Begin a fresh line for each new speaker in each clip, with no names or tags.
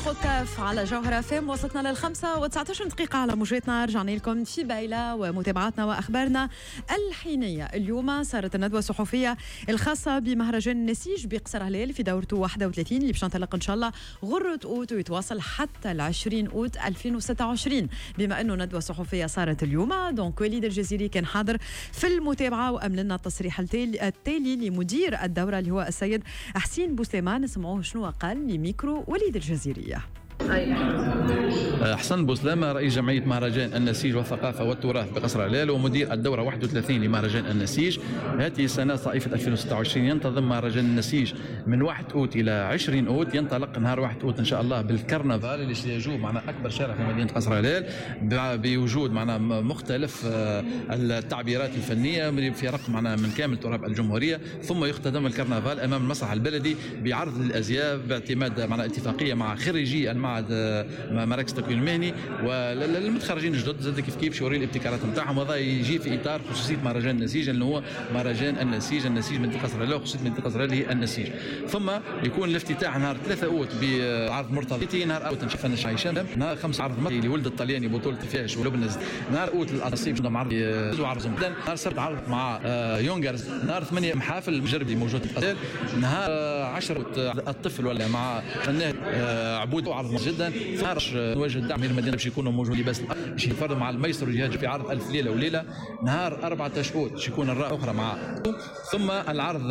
خطاف على جوهرة فام. وصلتنا 5:19 على موجاتنا. رجعنا لكم في بايلة ومتابعاتنا وأخبارنا الحينية. اليوم صارت الندوة الصحفية الخاصة بمهرجان النسيج بقصر هلال في دورته 31 اللي باش ننطلق إن شاء الله غرة أوت ويتواصل حتى 20 أوت 2026. بما أنه ندوة صحفية صارت اليوم، donc وليد الجزيري كان حاضر في المتابعة وأمن لنا التصريح التالي لمدير الدورة اللي هو السيد حسين بوسليمان. نسمعوه شنو قال لميكرو وليد الجزيري.
حسن بوسلامة رئيس جمعية مهرجان النسيج والثقافة والتراث بقصر هلال ومدير الدورة 31 لمهرجان النسيج. هذه السنة صائفة 2026 ينتظم مهرجان النسيج من 1 أوت إلى 20 أوت. ينطلق نهار 1 أوت إن شاء الله بالكرنفال اللي سيجوب معنا أكبر شارع في مدينة قصر هلال بوجود معنا مختلف التعبيرات الفنية من فرق معنا من كامل تراب الجمهورية. ثم يختتم الكرنفال أمام المسرح البلدي بعرض الأزياء باعتماد معنا اتفاقية مع خريجي المعهد مراكز التكوين المهني والمتخرجين الجدد زاد كيف كيف يوري الابتكارات نتاعهم. وهذا يجي في اطار خصوصية مهرجان النسيج اللي هو مهرجان النسيج، النسيج منطقة قصر هلال وخصوصية منطقة قصر هلال هي النسيج. ثم يكون الافتتاح نهار 3 اوت بعرض مرتضى، نهار اوت نشوف هشام، نهار 5 عرض مطلي لولد الطلياني بطوله فيش ولبنى، نهار اوت الاصيب عندهم عرض وعرض نهار 7 عرض مع يونغرز، نهار 8 محافل المجربي موجود، نهار 10 الطفل ولا مع فنان عبود عرض جدا. نهار نواجه الدعم من المدينة باش يكونوا موجودين بس باش يتفرضوا مع الميسر والجهاز في عرض ألف ليلة وليلة. نهار 14 اوت باش يكون الراء اخرى مع، ثم العرض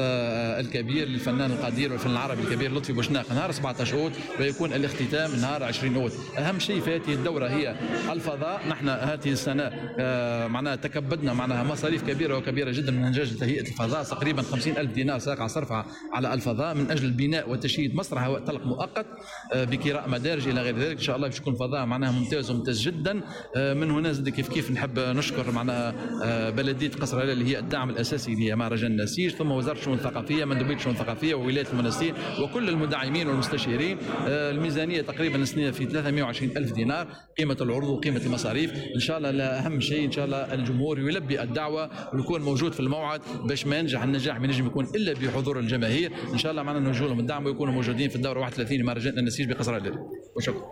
الكبير للفنان القدير والفن العربي الكبير لطفي بوشناق نهار 17 اوت، ويكون الاختتام نهار 20 اوت. اهم شيء في هذه الدورة هي الفضاء. نحن هذه السنة معناها تكبدنا معناها مصاريف كبيرة وكبيره جدا من اجل تهيئة الفضاء، تقريبا 50,000 دينار ساقع صرفها على الفضاء من اجل بناء وتشييد مسرح هواء طلق مؤقت بكراء مدارج الى غير ذلك. ان شاء الله باش يكون فضاء معناها ممتاز وممتاز جدا. من هنا زاد كيف كيف نحب نشكر معناها بلديه قصر هلال اللي هي الدعم الاساسي لمهرجان النسيج، ثم وزارة الشؤون الثقافية، مندوبيه الشؤون الثقافية وولاية المنستير وكل المدعمين والمستشيرين. الميزانية تقريبا السنة في 320,000 دينار قيمة العروض وقيمه المصاريف. ان شاء الله اهم شيء ان شاء الله الجمهور يلبي الدعوة ويكون موجود في الموعد باش ما ينجح النجاح ما ينجم يكون الا بحضور الجماهير. ان شاء الله معنا نوجه لهم الدعم ويكونوا موجودين في الدورة 31 لمهرجان النسيج بقصر هلال. وشكرا.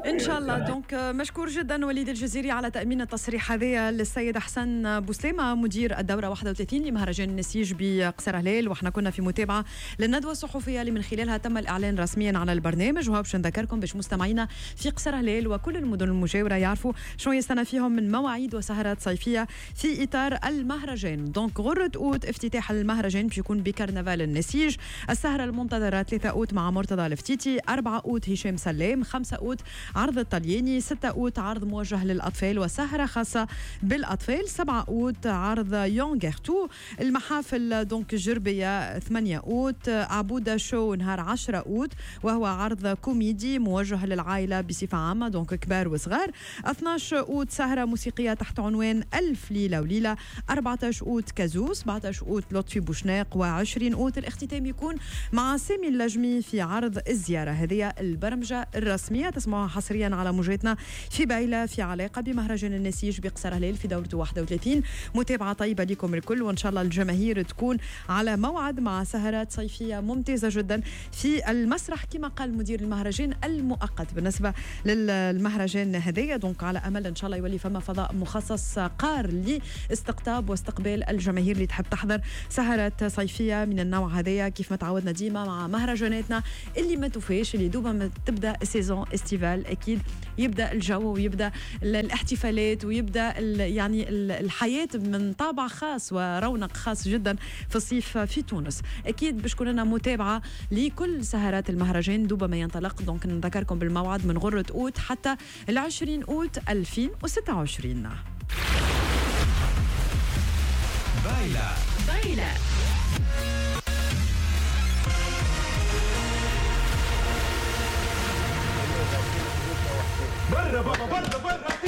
ان شاء الله. donc مشكور جدا وليد الجزيري على تامين التصريح هذا للسيد حسن بوسليمه مدير الدورة 31 لمهرجان النسيج بقصر هلال. وحنا كنا في متابعه للندوه الصحفية اللي من خلالها تم الاعلان رسميا على البرنامج. وهو باش نذكركم باش مستمعينا في قصر هلال وكل المدن المجاورة يعرفوا شنو يستنى فيهم من مواعيد وسهرات صيفية في اطار المهرجان. donc غره اوت افتتاح المهرجان باش يكون بكرنفال النسيج. السهرة المنتظره 3 اوت مع مرتضى الفتيتي، 4 اوت هشام سلام، 5 اوت عرض الطلياني، 6 أوت عرض موجه للأطفال وسهرة خاصة بالأطفال، 7 أوت عرض يونغرتو. المحافل donc الجربية 8 أوت، عبودة show نهار 10 أوت وهو عرض كوميدي موجه للعائلة بصفة عامة donc كبار وصغار. 12 أوت سهرة موسيقية تحت عنوان ألف ليلة وليلة، 14 أوت كازو، 17 أوت لطفي بوشناق، و20 أوت الاختتام يكون مع سامي اللجمي في عرض الزيارة. هذه البرمجة الرسمية تسمعها حصريا على موجاتنا في بايلة في علاقة بمهرجان النسيج بقصر هلال في دورته 31. متابعة طيبة لكم الكل، وإن شاء الله الجماهير تكون على موعد مع سهرات صيفية ممتازة جدا في المسرح كما قال مدير المهرجان المؤقت بالنسبة للمهرجان هذايا. donc على أمل إن شاء الله يولي فما فضاء مخصص قار لاستقطاب واستقبال الجماهير اللي تحب تحضر سهرات صيفية من النوع هذايا كيف ما تعودنا ديما مع مهرجاناتنا اللي ما توفيش، اللي دوبا ما تبدا saison estivale اكيد يبدا الجو ويبدا الاحتفالات ويبدا يعني الحياة من طابع خاص ورونق خاص جدا في الصيف في تونس. اكيد باش تكون لنا متابعه لكل سهرات المهرجان دوبا ما ينطلق. donc نذكركم بالموعد من غره اوت حتى 20 اوت 2026.
بايلا بايلا.